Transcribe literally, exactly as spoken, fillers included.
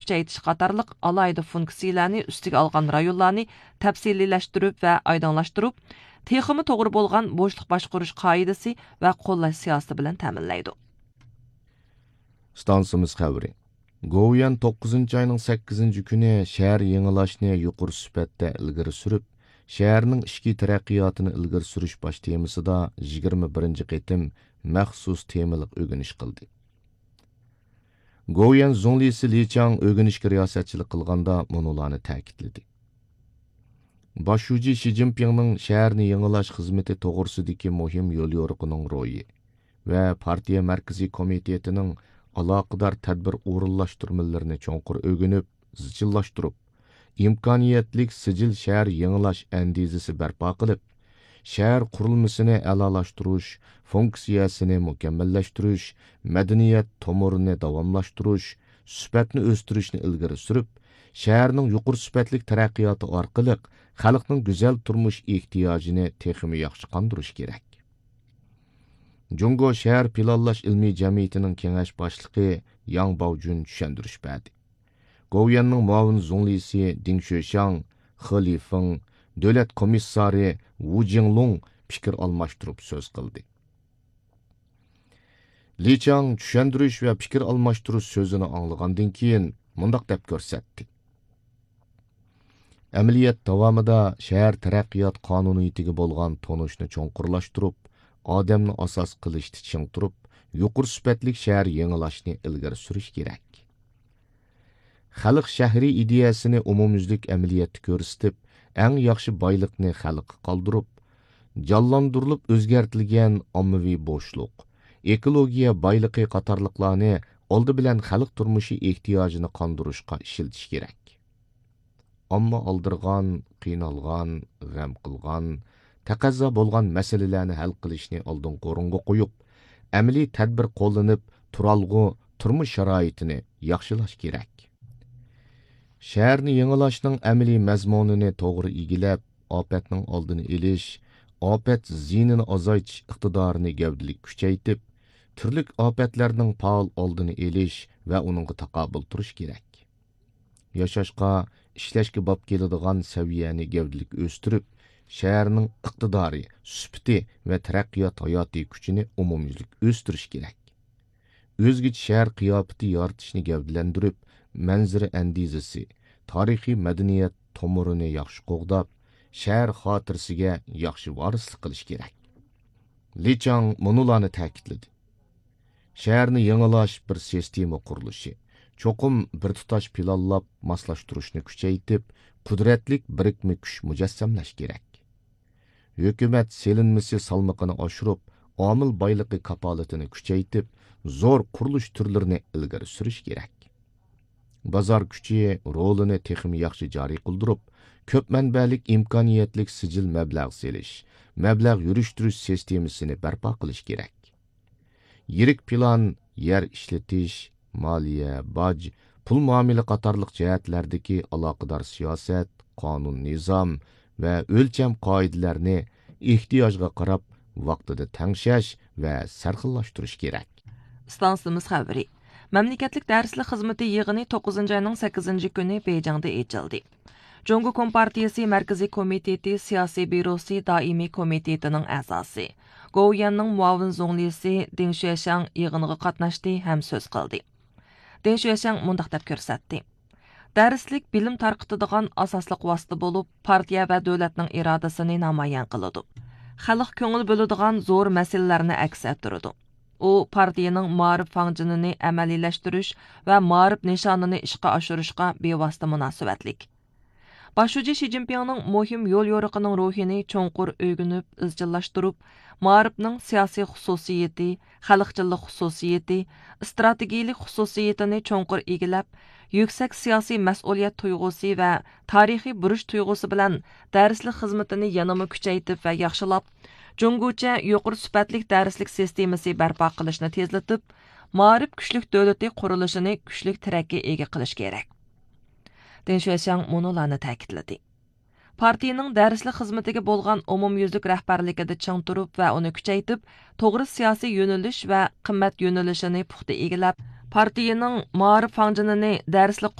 كۈچەيتىش قاتارلىق ئالاھىدە فۇنكسىيىلەرنى ئۈستىگە ئالغان رايونلارنى تەپسىلىيلەشتۈرۈپ ۋە ئايدىڭلاشتۇرۇپ، تېخىمۇ توغرا بولغان بوشلۇق باشقۇرۇش قائىدىسى ۋە قوللاش سىياسىتى بىلەن تەمىنلەيدۇ. ئىستانسىمىز خەۋىرى. گوۋۇيۈەن توققۇزىنچى ئاينىڭ سەككىزىنچى كۈنى شەھەر يېڭىلاشنى يۇقىرى سۈپەتتە ئىلگىرى سۈرۈپ، شەھەرنىڭ ئىچكى تەرەققىياتىنى ئىلگىرى سۈرۈش باش تېمىسىدا يىگىرمە بىرىنچى قېتىم مەخسۇس تېمىلىق ئۆگىنىش قىلدى. گوۋۇيۈەن زۇڭلىسى لى چاڭ ئۆگىنىشكە رىياسەتچىلىك قىلغاندا مۇنۇلارنى تەكىتلىدى. باش شۇجى شى جىنپىڭنىڭ شەھەرنى يېڭىلاش خىزمىتى توغرىسىدىكى مۇھىم يوليورۇقىنىڭ روھى ۋە پارتىيە مەركىزىي كومىتېتىنىڭ ئالاقىدار تەدبىر ئورۇنلاشتۇرمىلىرىنى چوڭقۇر ئۆگىنىپ، زىچىللاشتۇرۇپ، ئىمكانىيەتلىك سىجىل شەھەر يېڭىلاش ئەندىزىسى بەرپا قىلىپ، شەھەر قۇرۇلمىسىنى ئەلالاشتۇرۇش، فۇنكسىيەسىنى مۇكەممەللەشتۈرۈش، مەدەنىيەت تومۇرىنى داۋاملاشتۇرۇش، سۈپەتنى ئۆستۈرۈشنى ئىلگىرى سۈرۈپ، شەھەرنىڭ يۇقىرى سۈپەتلىك تەرەققىياتى ئارقىلىق خەلقنىڭ گۈزەل تۇرمۇش ئېھتىياجىنى تېخىمۇ ياخشى قاندۇرۇش كېرەك. جۇڭگو شەھەر پىلانلاش ئىلمىي جەمئىيىتىنىڭ كېڭەش باشلىقى ياڭ باۋجۈن چۈشەندۈرۈش بەردى. گوۋۇيۈەننىڭ مۇئاۋىن زۇڭلىسى دىڭ شۆشياڭ، خې لىفېڭ، دۆلەت كومىسسارى ۋۇ جىڭلۇڭ پىكىر ئالماشتۇرۇپ سۆز قىلدى. لى چاڭ چۈشەندۈرۈش ۋە پىكىر ئالماشتۇرۇش سۆزىنى ئاڭلىغاندىن كېيىن مۇنداق دەپ كۆرسەتتى. ئەمەلىيەت داۋامىدا شەھەر تەرەققىيات قانۇنىيىتىگە بولغان تونۇشنى چوڭقۇرلاشتۇرۇپ، ئادەمنى ئاساس قىلىشتا چىڭ تۇرۇپ، يۇقىرى سۈپەتلىك شەھەر يېڭىلاشنى ئىلگىرى سۈرۈش كېرەك. خەلق شەھىرى ئىدىيەسىنى ئومۇميۈزلۈك ئەمەلىيەتتە كۆرسىتىپ، ئەڭ ياخشى بايلىقنى خەلققە قالدۇرۇپ، جانلاندۇرۇلۇپ ئۆزگەرتىلگەن ئاممىۋى بوشلۇق، ئېكولوگىيە بايلىقى قاتارلىقلارنى ئالدى بىلەن خەلق تۇرمۇشى ئېھتىياجىنى قاندۇرۇشقا ئىشلىتىش كېرەك. ئامما ئالدىرىغان، قىينالغان، غەم قىلغان، تەقەززا بولغان مەسىلىلەرنى ھەل قىلىشنى ئالدىنقى ئورۇنغا قويۇپ، ئەمەلىي تەدبىر قوللىنىپ، تۇرالغۇ تۇرمۇش شارائىتىنى ياخشىلاش كېرەك. شەھەرنى يېڭىلاشنىڭ ئەمەلىي مەزمۇنىنى توغرا ئىگىلەپ، ئاپەتنىڭ ئالدىنى ئېلىش، ئاپەت زىيىنىنى ئازايتىش ئىقتىدارىنى گەۋدىلىك كۈچەيتىپ، تۈرلۈك ئاپەتلەرنىڭ پائال ئالدىنى ئېلىش ۋە ئۇنىڭغا تاقابىل تۇرۇش كېرەك. ياشاشقا، ئىشلەشكە باب كېلىدىغان سەۋىيەنى گەۋدىلىك ئۆستۈرۈپ، شەھەرنىڭ ئىقتىدارى، سۈپىتى ۋە تەرەققىيات ھاياتىي كۈچىنى ئومۇميۈزلۈك ئۆستۈرۈش كېرەك. ئۆزگىچە شەھەر قىياپىتى يارىتىشنى گەۋدىلەندۈرۈپ، مەنزىرە ئەندىزىسى، تارىخىي مەدەنىيەت تومۇرىنى ياخشى قوغداپ، شەھەر خاتىرىسىگە ياخشى ۋارىسلىق قىلىش كېرەك. لى چاڭ مۇنۇلارنى تەكىتلىدى. شەھەرنى يېڭىلاش بىر سىستېما قۇرۇلۇشى. چوقۇم بىر تۇتاش پىلانلاپ، ماسلاشتۇرۇشنى كۈچەيتىپ، قۇدرەتلىك بىرىكمە كۈچ مۇجەسسەملەش كېرەك. ھۆكۈمەت سېلىنمىسى سالمىقىنى ئاشۇرۇپ، ئامىل بايلىقى كاپالىتىنى كۈچەيتىپ، زور قۇرۇلۇش تۈرلىرىنى ئىلگىرى سۈرۈش كېرەك. بازار كۈچى رولىنى تېخىمۇ ياخشى جارى قىلدۇرۇپ، كۆپ مەنبەلىك ئىمكانىيەتلىك سىجىل مەبلەغ سېلىش، مەبلەغ يۈرۈشتۈرۈش سىستېمىسىنى بەرپا قىلىش كېرەك. يىرىك پىلان، يەر ئىشلىتىش، مالىيە، باج، پۇل مۇئامىلە قاتارلىق جەھەتلەردىكى ئالاقىدار سىياسەت، قانۇن نىزام ۋە ئۆلچەم قائىدىلەرنى ئېھتىياجغا قاراپ ۋاقتىدا تەڭشەش ۋە سەرخىللاشتۇرۇش كېرەك. ئىستانسىمىز خەۋىرى. مەملىكەتلىك دەرسلىك خىزمىتى يىغىنى توققۇزىنچى ئاينىڭ سەككىزىنچى كۈنى بېيجىڭدا ئېچىلدى. جۇڭگو كومپارتىيىسى مەركىزىي كومىتېتى سىياسىي بيۇروسى دائىمىي كومىتېتىنىڭ ئەزاسى، گوۋۇيۈەننىڭ مۇئاۋىن زۇڭلىسى دېڭ شۈەشياڭ يىغىنغا قاتناشتى ھەم سۆز قىلدى. دېڭ شۈەشياڭ مۇنداق دەپ كۆرسەتتى: دەرسلىك بىلىم تارقىتىدىغان ئاساسلىق ۋاسىتە بولۇپ، پارتىيە ۋە دۆلەتنىڭ ئىرادىسىنى نامايان قىلىدۇ. خەلق كۆڭۈل بۆلىدىغان زور مەسىلىلەرنى ئەكس ئەتتۈرىدۇ. ئۇ پارتىيىنىڭ مائارىپ فاڭجېنىنى ئەمەلىيلەشتۈرۈش ۋە مائارىپ نىشانىنى ئىشقا ئاشۇرۇشقا بىۋاسىتە مۇناسىۋەتلىك. باش شۇجى شى جىنپىڭنىڭ مۇھىم يول يورۇقىنىڭ روھىنى چوڭقۇر ئۆگىنىپ ئىزچىللاشتۇرۇپ، مائارىپنىڭ سىياسىي خۇسۇسىيىتى، خەلقچىللىق خۇسۇسىيىتى، ئىستراتېگىيىلىك خۇسۇسىيىتىنى چوڭقۇر ئىگىلەپ، يۈكسەك سىياسىي مەسئۇلىيەت تۇيغۇسى ۋە تارىخىي بۇرچ تۇيغۇسى بىلەن دەرسلىك خىزمىتىنى يەنىمۇ كۈچەيتىپ ۋە ياخشىلاپ، جۇڭگوچە يۇقىرى سۈپەتلىك دەرسلىك سىستېمىسى بەرپا قىلىشنى تېزلىتىپ، مائارىپ كۈچلۈك دۆلىتى قۇرۇلۇشىنى كۈچلۈك تىرەككە ئىگە قىلىش كېرەك. دېڭ شۈەشياڭ مۇنۇلارنى تەكىتلىدى. پارتىيىنىڭ دەرسلىك خىزمىتىگە بولغان ئومۇميۈزلۈك رەھبەرلىكىدە چىڭ تۇرۇپ ۋە ئۇنى كۈچەيتىپ، توغرا سىياسىي يۆنىلىش ۋە قىممەت يۆنىلىشىنى پۇختا ئىگىلەپ، پارتىيىنىڭ مائارىپ فاڭجېنىنى دەرسلىك قۇرۇلۇشى